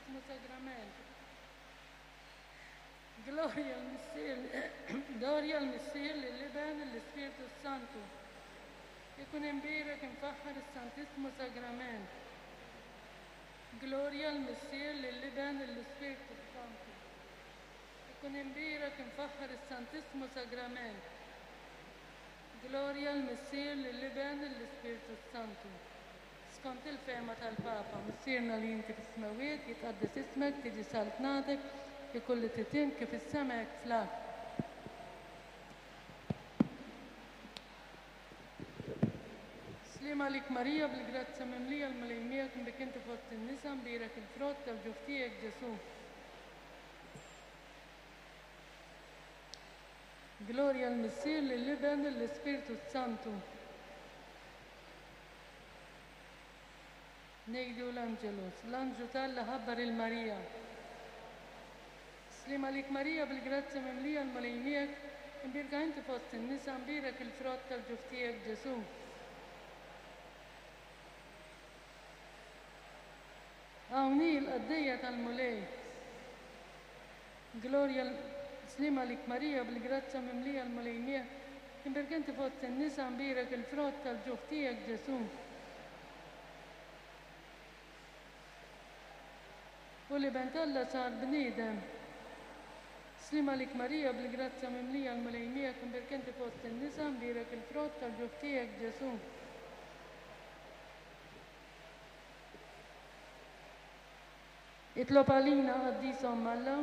Santissimo Sagrament. Glorja l-Missier, Glorja l-Missier, lill-Iben, lill-Ispirtu s-Santu. Ikun imbierek imfaħħar is-Santissmu Sagrament. Glorja l-Missier, lill-Iben, lill-Ispirtu s-Santu. Ikun imbierek imfaħħar is-Santissmu Sagrament. Glorja l-Missier, lill-Iben, lill-Ispirtu s-Santu. Skont il-fehma tal-Papa, Missierna li inti fis-smewwiet, jitqaddes ismek, tiġi saltnatek, ikun li trid int kif fis-sema hekk fl-art. Sliem għalik Marija, bil-grazzja mimlija l-Mulej miegħek, imbik inti fost in-nisa, mbierek il-frott tal-ġuf tiegħek Ġesù. Glorja l-Missier, lill-Iben, lill-Ispirtu s-Santu. Ngħidu l-Angelus. L-anġlu t'Alla ħabbar 'il Marija. Sliem għalik Marija bil-grazzja mimlija l-Mulej miegħek, imbierka inti fost in-nisa, mbierek il-frott tal-ġuf tiegħek Ġesù. Hawn hi l-qaddejja tal-Mulej. Glorja Sliem għalik Marija bil-grazzja mimlija l-Mulej miegħek, imbierka inti fost in-nisa, mbierek il-frott tal-ġuf tiegħek Ġesù. U l-Iben t'Alla sar bniedem. Sliem għalik Marija bil-grazzja mimlija l-Mulej miegħek, imbierka inti fost in-nisa, mbierek il-frott tal-ġuf tiegħek Ġesù. Itlob għalina, Qaddisa Omm Alla.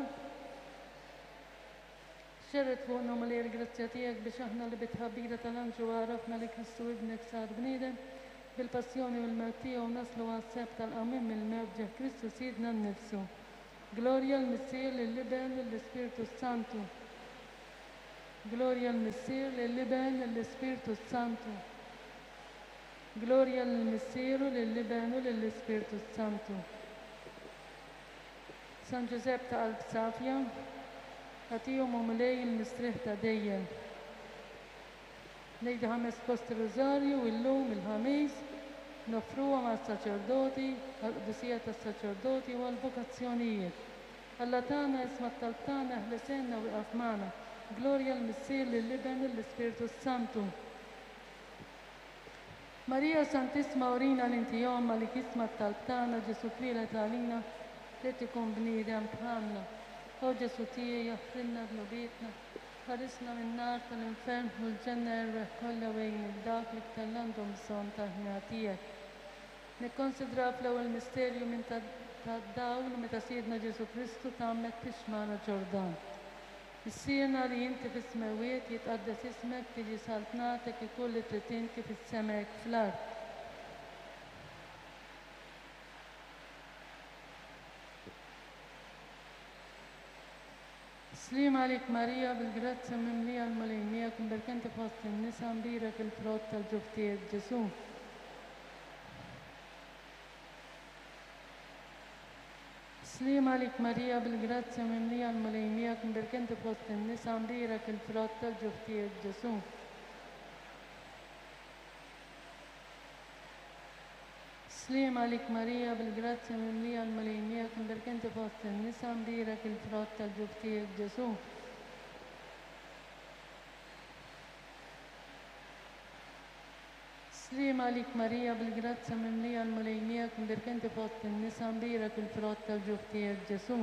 Xerred fuqna, Mulej, il-grazzja tiegħek biex aħna li bit-tħabbira tal-anġlu għarafna li Kristu Ibnek sar bniedem, bil-passjoni u l-mewt tiegħu naslu għas-sebħ tal-qawmien mill-mewt b'ġieħ Kristu Sidna nnifsu. Glorja l-Missier, lill-Iben, lill-Ispirtu s-Santu. Glorja l-Missier, lill-Iben, lill-Ispirtu s-Santu. Glorja lill-Missier u lill-Iben u lill-Ispirtu s-Santu. San Ġużepp ta' qalb safja, agħtihom o Mulej il-mistrieħ ta' dejjem. Ngħidu ħames posti Rużarju illum il-Ħamis, noffruhom għas-saċerdoti, għall-qdusija tas-saċerdoti u għall-vokazzjonijiet. Alla tagħna isma' t-talb tagħna eħles għinna u ieqaf magħna. Glorja l-Missier lill-Iben lill-Ispirtu s-Santu. Marija Santissma urina li inti Omm għalik jisma' t-talb tagħna Ġesù twieled għalina ried ikun bniedem bħalna. O Ġesù tiegħi aħfrilna dnubietna, ħarisna min-nar tal-infern ħu l-ġenna erwieħ kollha u għin lil dawk l-iktar l-għandhom bżonn tal-ħniena tiegħek. Nikkonsidraw fl-ewwel misterju minn tad-dawl meta Sidna Ġesù Kristu tgħammed fix-xmara Ġordan. Missierna li inti fis-smewwiet, jitqaddes ismek, tiġi saltnatek, ikun li trid int kif fis-sema hekk fl-art. Sliem għalik Marija, bil-grazzja mimlija l-Mulej miegħek, imberka inti fost in-nisa, mbierek il-frott tal-ġuf tiegħek Ġesù. Sliem għalik Marija bil-grazzja mimlija l-Mulej miegħek imbierka inti fost in-nisa mbierek il-frott tal-ġuf tiegħek Ġesù. Sliem għalik Marija bil-grazzja mimlija l-Mulej miegħek imbierka inti fost in-nisa mbierek il-frott tal-ġuf tiegħek Ġesù. Sliem għalik Marija bil-grazzja mimlija l-Mulej miegħek imbierka inti fost in-nisa mbierek il-frott tal-ġuf tiegħek Ġesù.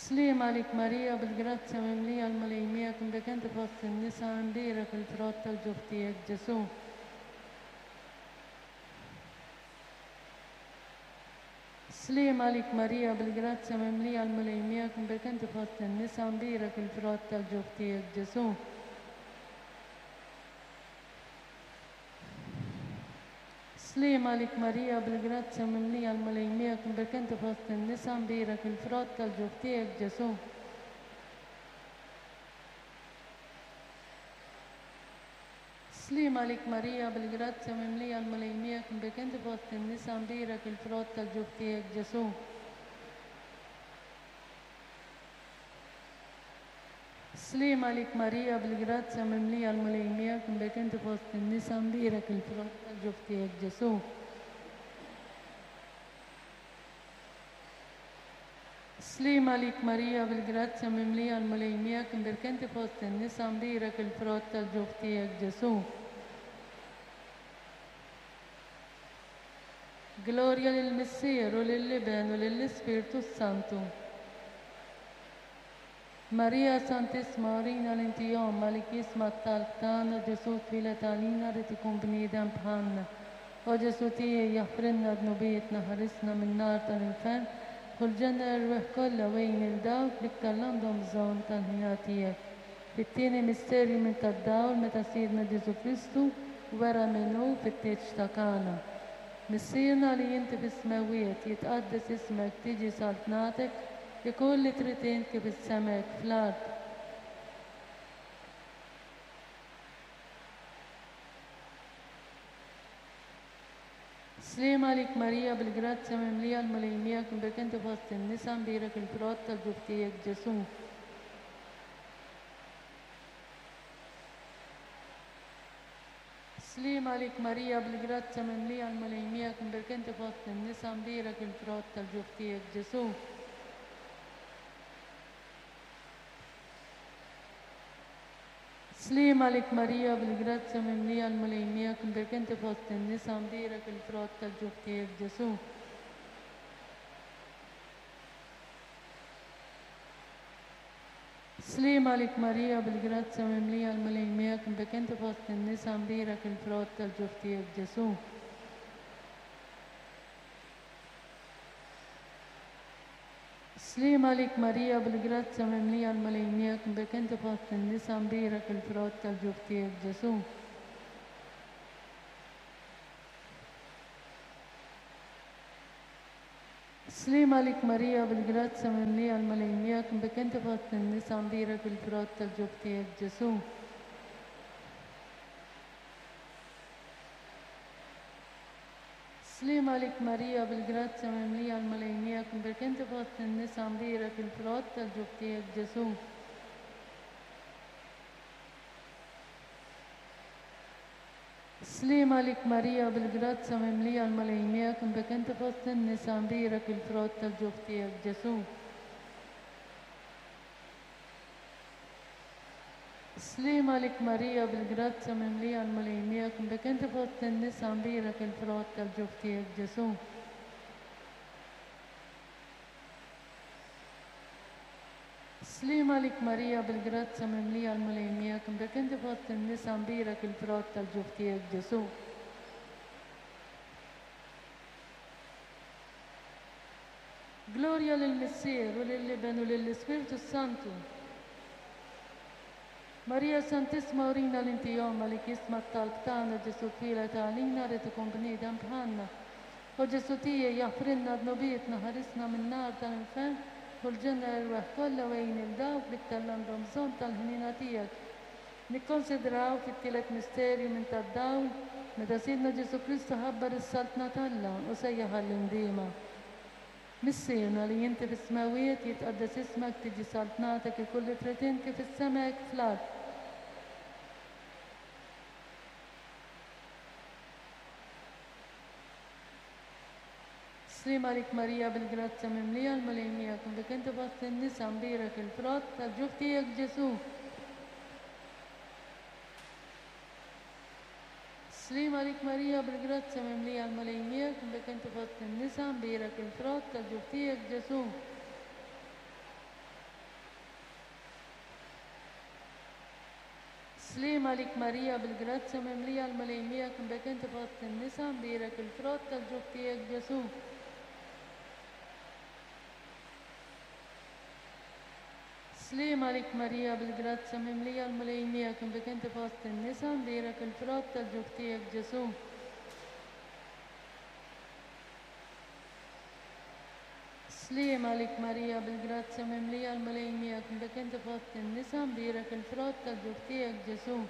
Sliem għalik Marija bil-grazzja mimlija l-Mulej miegħek imbierka inti fost in-nisa imbierek il-frott tal-ġuf tiegħek Ġesù. Sliem għalik Marija bil-grazzja mimlija l-Mulej miegħek imbierka inti fost in-nisa mbierek il-frott tal-ġuf tiegħek Ġesù. Sliem għalik Marija bil-grazzja mimlija l-Mulej miegħek imbierka inti fost in-nisa mbierek il-frott tal-ġuf tiegħek Ġesù. Sliem għalik Marija bil-grazzja mimlija l-Mulej miegħek imbierka inti fost in-nisa mbierek il-frott tal-ġuf tiegħek Ġesù. Sliem għalik Marija bil-grazzja mimlija l-Mulej miegħek imbierka inti fost in-nisa mbierek il-frott tal-ġuf tiegħek Ġesù. Sliem għalik Marija bil-grazzja mimlija l-Mulej miegħek imbierka inti fost in-nisa mbierek il-frott tal-ġuf tiegħek Ġesù. Glorja lill-Missier u lill-Iben u lill-Ispirtu s-Santu. Marija Santissima urina li inti omm għalik jisma' t-talb tagħna Ġesù twieled għalina ried ikun bniedem bħalna. O Ġesù tiegħi jaħfrilna dnubietna ħarisna min-nar tal-infern dħul l-ġenna l-erwieħ kollha u għin lil dawk l-iktar l-għandhom bżonn tal-ħniena tiegħek. Fit-tieni misterju minn tad-dawl meta Sidna Ġesù Kristu wera min hu fit-tieġ ta' Kana. Missierna li inti fis-smewwiet, jitqaddes ismek, tiġi saltnatek, ikun li trid int kif is-sema hekk fl-art. Sliem għalik Marija bil-grazzja mimlija l-Mulej miegħek imbierka inti fost in-nisa mbierek il-frott tal-ġuf tiegħek Ġesù. Sliem għalik Marija bil-grazzja mimlija l-Mulej miegħek imbierka inti fost in-nisa mbierek il-frott tal-ġuf tiegħek Ġesù. Sliem għalik Marija bil-grazzja mimlija l-Mulej miegħek imbierka inti fost in-nisa mbierek il-frott tal-ġuf tiegħek Ġesù. Sliem għalik Marija bil-grazzja mimlija l-Mulej miegħek imbierka inti fost in-nisa mbierek il-frott tal-ġuf tiegħek Ġesù. Sliem għalik Marija bil-grazzja mimlija l-Mulej miegħek imbierka inti fost in-nisa mbierek il-frott tal-ġuf tiegħek Ġesù. Sliem għalik Marija bil-grazzja mimlija l-Mulej miegħek imbierka inti fost in-nisa mbierek il-frott tal-ġuf tiegħek Ġesù. Sliem għalik Marija bil-grazzja mimlija l-Mulej miegħek imbierka inti fost in-nisa mbierek il-frott tal-ġuf tiegħek Ġesù. Sliem għalik Marija bil-grazzja mimlija l-Mulej miegħek imbierka inti fost in-nisa mbierek il-frott tal-ġuf tiegħek Ġesù. Sliem għalik Marija bil-grazzja mimlija l-Mulej miegħek imbierka inti fost in-nisa mbierek il-frott tal-ġuf tiegħek Ġesù. Sliem għalik Marija bil-grazzja mimlija l-Mulej miegħek imbierka inti fost in-nisa mbierek il-frott tal-ġuf tiegħek Ġesù. Glorja lill-Missier u lill-Iben u lill-Ispirtu s-Santu. Marija Santissima urina li inti omm għalik jisma' t-talb tagħna Ġesù twieled għalina ried ikun bniedem bħalna. O Ġesù tiegħi, aħfrilna dnubietna, ħarisna min-nar tal-infern, dħul l-ġenna l-erwieħ kollha u għin 'il dawk l-iktar l-għandhom bżonn tal-ħniena tiegħek. Nikkonsidraw fit-tielet misterju minn tad-dawl, meta Sidna Ġesù Kristu ħabbar is-Saltna t'Alla u sejjaħ għall-indiema. Missierna li inti fis-smewwiet, jitqaddes ismek, tiġi saltnatek, ikun li trid int kif fis-sema hekk fl-art. Sliem għalik Marija bil-grazzja mimlija l-Mulej miegħek imbierka inti fost in-nisa mbierek il-frott tal-ġuf tiegħek Ġesù. Sliem għalik Marija bil-grazzja mimlija l-Mulej miegħek imbierka inti fost in-nisa mbierek il-frott tal-ġuf tiegħek Ġesù. Sliem għalik Marija bil-grazzja mimlija l-Mulej miegħek imbierka inti fost in-nisa mbierek il-frott tal-ġuf tiegħek Ġesù. Sliem għalik Marija bil-grazzja mimlija l-Mulej miegħek imbierka inti fost in-nisa mbierek il-frott tal-ġuf tiegħek Ġesù. Sliem għalik Marija bil-grazzja mimlija l-Mulej miegħek imbierka inti fost in-nisa mbierek il-frott tal-ġuf tiegħek Ġesù.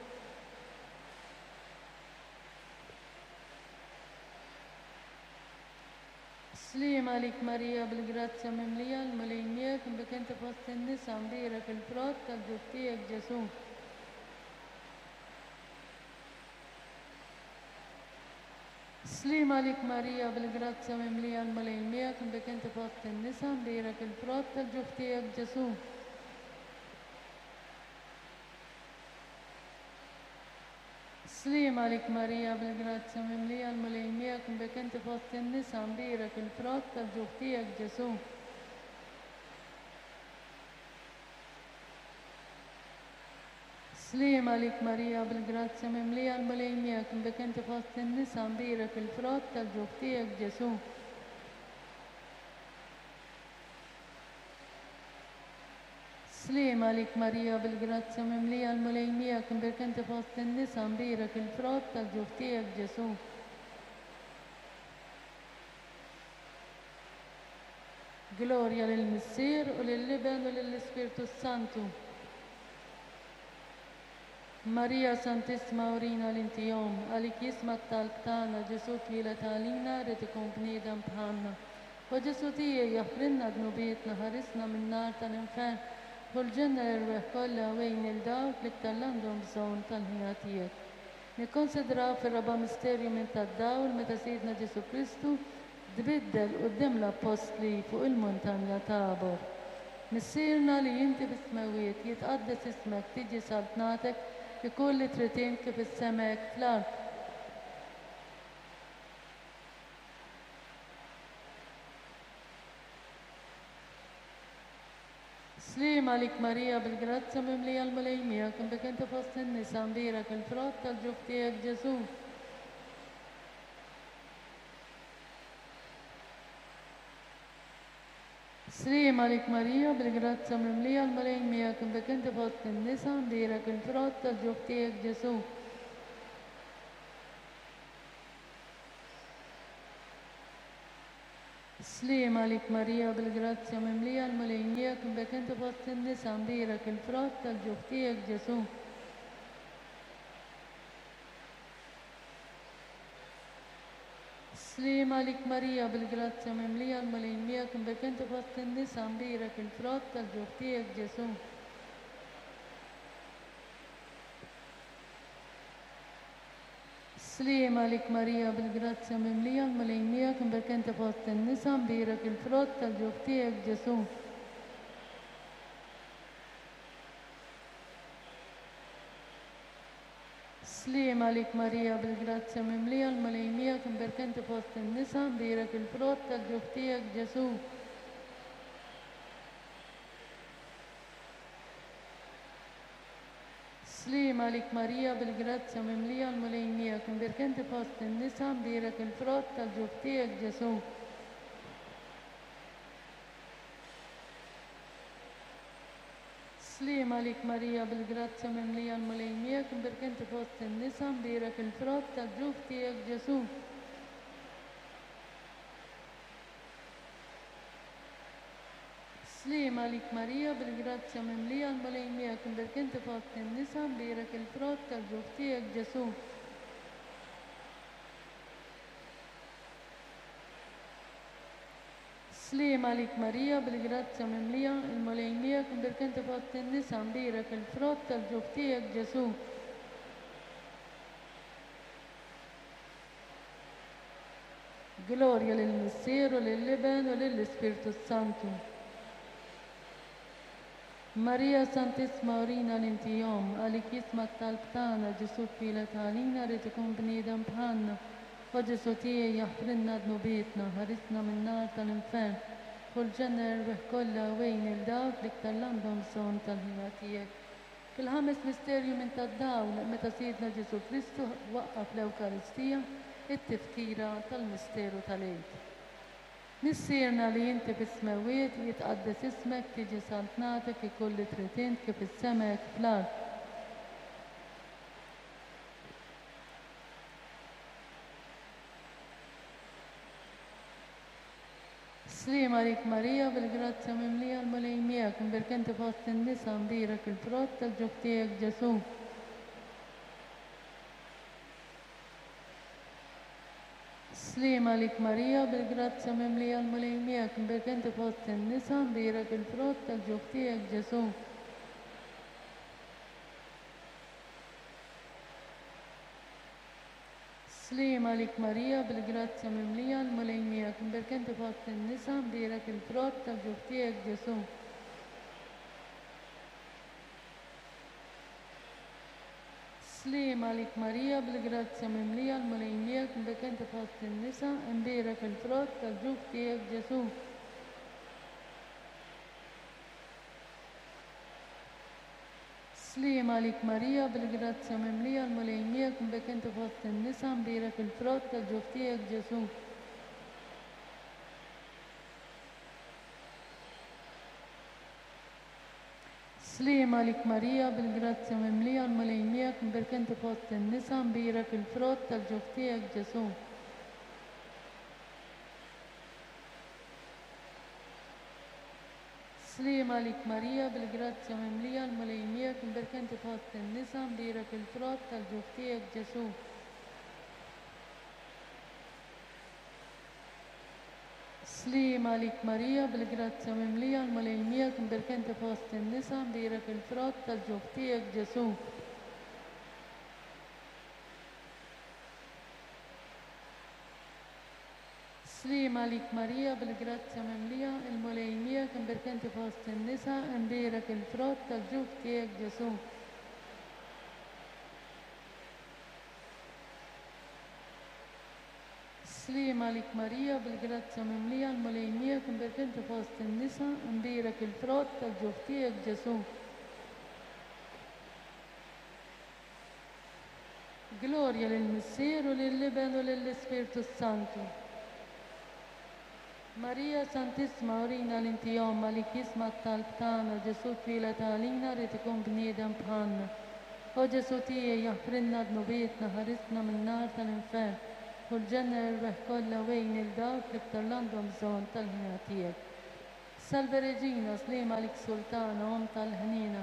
Sliem għalik Marija bil-grazzja mimlija l-Mulej miegħek imbierka inti fost in-nisa mbierek il-frott tal-ġuf tiegħek Ġesù. Sliem għalik Marija bil-grazzja mimlija l-Mulej miegħek imbierka inti fost in-nisa mbierek il-frott tal-ġuf tiegħek Ġesù. Sliem għalik Marija bil-grazzja mimlija l-Mulej miegħek imbierka inti fost in-nisa mbierek il-frott tal-ġuf tiegħek Ġesù. Sliem għalik Marija bil-grazzja mimlija l-Mulej miegħek imbierka inti fost in-nisa mbierek il-frott tal-ġuf tiegħek Ġesù. Sliem għalik Marija bil-grazzja mimlija l-Mulej miegħek imbierka inti fost in-nisa mbierek il-frott tal-ġuf tiegħek Ġesù. Glorja lill-Missier u lill-Iben u lill-Ispirtu s-Santu. Marija Santissma urina li inti Omm, għalik jisma' t-talb tagħna, Ġesù twieled għalina ried ikun bniedem bħalna. O Ġesù tiegħi, aħfrilna dnubietna, ħarisna min-nar tal-infern, ħu l-ġenna l-erwieħ kollha u għin lil dawk l-iktar l-għandhom bżonn tal-ħniena tiegħek. Nikkonsidraw fir-raba' misterju minn tad-dawl meta Sidna Ġesù Kristu tbiddel quddiem l-appostli fuq il-muntanja Tabor. Missierna li inti fis-smewwiet, jitqaddes ismek, tiġi saltnatek, ikun li trid int kif fis-sema hekk fl-art. Sliem għalik Marija bil-grazzja mimlija l-Mulej miegħek, imbierka inti fost in-nisa, mbierek il-frott tal-ġuf tiegħek Ġesù. Sliem għalik Marija bil-grazzja mimlija l-Mulej miegħek, imbierka inti fost in-nisa, mbierek il-frott tal-ġuf tiegħek Ġesù. Sliem għalik Marija bil-grazzja mimlija l-Mulej miegħek imbierka inti fost in-nisa mbierek il-frott tal-ġuf tiegħek Ġesù. Sliem għalik Marija bil-grazzja mimlija l-Mulej miegħek imbierka inti fost in-nisa mbierek il-frott tal-ġuf tiegħek Ġesù. Sliem għalik Marija bil-grazzja mimlija l-Mulej miegħek imbierka inti fost in-nisa mbierek il-frott tal-ġuf tiegħek Ġesù. Sliem għalik Marija bil-grazzja mimlija l-Mulej miegħek imbierka inti fost in-nisa mbierek il-frott tal-ġuf tiegħek Ġesù. Sliem għalik Marija bil-grazzja mimlija l-Mulej miegħek, imbierka inti fost in-nisa, mbierek il-frott tal-ġuf tiegħek Ġesù. Sliem għalik Marija bil-grazzja mimlija l-Mulej miegħek, imbierka inti fost in-nisa, mbierek il-frott tal-ġuf tiegħek Ġesù. Sliem għalik Marija bil-grazzja mimlija l-Mulej miegħek imbierka inti fost in-nisa mbierek il-frott tal-ġuf tiegħek Ġesù. Sliem għalik Marija bil-grazzja mimlija il-Mulej miegħek imbierka inti fost in-nisa mbierek il-frott tal-ġuf tiegħek Ġesù. Glorja lill-Missier u lill-Iben u lill-Ispirtu s-Santu. Marija Santissma urina li inti Omm, għalik jisma' t-talb tagħna, Ġesù twieled għalina ried ikun bniedem bħalna. O Ġesù tiegħi aħfrilna dnubietna, ħarisna min-nar tal-infern. Ħu l-ġenna l-erwieħ kollha u għin lil dawk l-iktar l-għandhom bżonn tal-ħniena tiegħek. Fil-ħames misterju minn tad-dawl, meta Sidna Ġesù Kristu waqqaf l-Ewkaristija, it-tifkira tal-misteru tal-Għid. Missierna li inti fis-smewwiet, jitqaddes ismek, tiġi saltnatek, ikun li trid int kif fis-sema hekk fl-art. Sliem għalik Marija bil-grazzja mimlija l-Mulej miegħek, imbierka inti fost in-nisa, mbierek il-frott tal-ġuf tiegħek Ġesù. Sliema għalik Marija, bil-grazzja mimlija l-Mulej miegħek, imbierka inti fost in-nisa, mbierek il-frott tal-ġuf tiegħek Ġesù. Sliema għalik Marija, bil-grazzja mimlija l-Mulej miegħek, imbierka inti fost in-nisa, mbierek il-frott tal-ġuf tiegħek Ġesù. Sliema għalik Marija, bil-grazzja mimlija l-Mulej miegħek, imbierka inti fost in-nisa, imbierek il-frott tal-ġuf tiegħek Ġesù. Sliema għalik Marija, bil-grazzja mimlija l-Mulej miegħek, imbierka inti fost in-nisa, imbierek il-frott tal-ġuf tiegħek Ġesù. Sliema għalik Marija, bil-grazzja mimlija l-Mulej miegħek, imbierka inti fost in-nisa, imbierek il-frott tal-ġuf tiegħek Ġesù. Sliema għalik Marija, bil-grazzja mimlija l-Mulej miegħek, imbierka inti fost in-nisa, imbierek il-frott tal-ġuf tiegħek Ġesù. Sliema għalik Marija, bil-grazzja mimlija l-Mulej miegħek, imbierka inti fost in-nisa, imbierek il-frott tal-ġuf tiegħek Ġesù. Sliema għalik Marija, bil-grazzja mimlija, il-Mulej miegħek, imbierka inti fost in-nisa, imbierek il-frott tal-ġuf tiegħek Ġesù. Sliema għalik Marija, bil-grazzja mimlija, l-Mulej miegħek, imbierka inti fost in-nisa, imbierek il-frott tal-ġuf tiegħek Ġesù. Glorja lill-Missier u lill-Iben u lill-Ispirtu s-Santu. Marija Santissima urina li inti omm għalik jisma' t-talb tagħna Ġesù twieled għalina ried ikun bniedem bħalna. O Ġesù tiegħi aħfrilna dnubietna ħarisna min-nar tal-infern u l-ġenna erwieħ kollha u għin lil dawk l-iktar l-għandhom bżonn tal-ħniena tiegħek. Salve Regina, sliema għalik Sultana, Omm tal-ħniena.